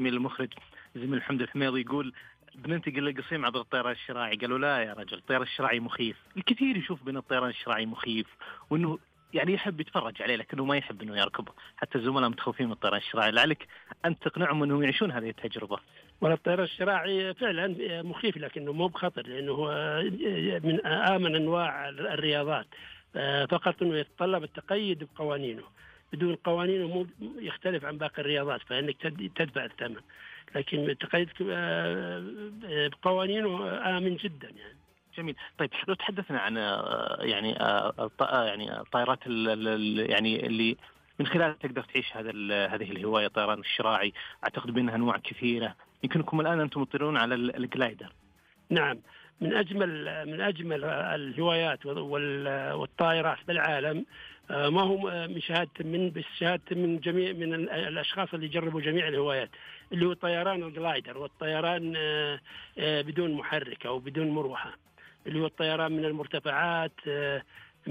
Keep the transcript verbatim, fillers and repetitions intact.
زميل المخرج زميل محمد الحميضي يقول بننتقل للقصيم عبر الطيران الشراعي. قالوا لا يا رجل، الطيران الشراعي مخيف. الكثير يشوف بأن الطيران الشراعي مخيف وأنه يعني يحب يتفرج عليه لكنه ما يحب أنه يركبه. حتى الزملاء متخوفين من الطيران الشراعي. لعلك أنت تقنعهم أنهم يعيشون هذه التجربة. ولا الطيران الشراعي فعلا مخيف لكنه مو بخطر، لأنه هو من آمن أنواع الرياضات، فقط أنه يتطلب التقيد بقوانينه. بدون قوانينه مو يختلف عن باقي الرياضات، فإنك تدفع الثمن، لكن التقيد بقوانينه آمن جدا يعني. جميل. طيب لو تحدثنا عن يعني يعني الطائرات يعني اللي من خلالها تقدر تعيش هذا هذه الهواية، الطيران الشراعي، أعتقد بأنها أنواع كثيرة. يمكنكم الآن أنتم مطيرون على الجلايدر. نعم، من أجمل من أجمل الهوايات والطائرات بالعالم. ما هو من شهادة من بس شهادة من جميع من الأشخاص اللي جربوا جميع الهوايات، اللي هو طيران الجلايدر والطيران بدون محرك أو بدون مروحة، اللي هو الطيران من المرتفعات